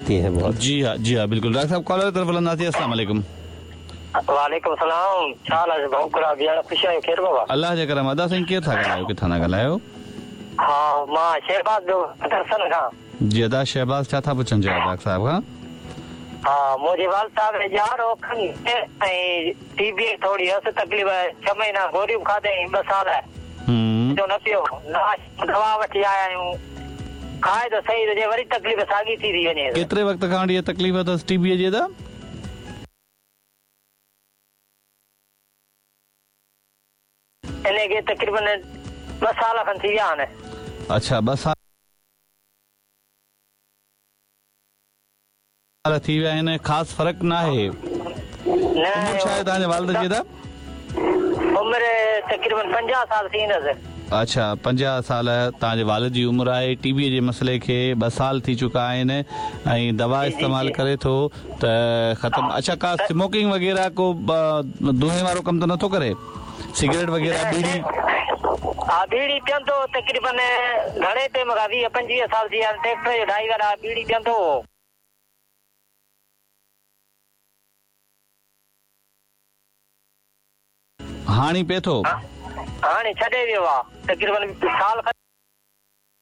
होती हैं बहुत। जी हाँ, जी हाँ, बिल्कुल। डॉक्टर साहब, कॉलर तरफ़ हलंदासीं। अस्सलाम वालेकुम। वालेकुम सलाम। छा हाल आहे भाऊ? गुलाब यार, ख़ुशि आहियो? खेर बाबा? अलाह जे करम। अदा साईं, केरु था ॻाल्हायो, किथां था ॻाल्हायो? हा, मां शहबाज़ पियो दर्शन खां। जी अदा शहबाज़, छा था पुछणु चाहियो डॉक्टर साहब खां? हा, मुंहिंजे वालिद साहब खे ॼाण हो खणी ऐं टी बी थोरी हुअसि तकलीफ़, 6 महीना गोलियूं खाधई, 2 साल जो न पियो, दवा वठी आया आहियूं, खाए त सही हुजे, वरी तकलीफ़ साॻी थी थी वञे। केतिरे वक़्त खां वठी इहा तकलीफ़ अथसि टी बी जी अदा? इन खे तक़रीबन 2 साल खनि थी विया आहिनि। अच्छा, 2 साल थी विया आहिनि, ख़ासि फ़र्क़ु न आहे। न। उमिरि छा आहे तव्हांजे वालिद जी अदा? उमिरि तक़रीबन 50 साल थींदसि। अच्छा, 50 साल तव्हांजे वालिद जी उमिरि आहे। टी बी जे मसइले खे 2 साल थी चुका आहिनि ऐं दवा इस्तेमालु करे थो त ख़तमु। अच्छा, का स्मोकिंग वग़ैरह, को धुएँ वारो कमु त नथो करे? सिगरेट वग़ैरह, बीड़ी? हा, बीड़ी पीअंदो तक़रीबन घणे टाइम खां, 20-25 साल थी विया आहिनि। ट्रैक्टर जो ड्राइवर आहे, बीड़ी पीअंदो हो। हाणे पिए थो? हाणे छॾे वियो आहे, तक़रीबन साल।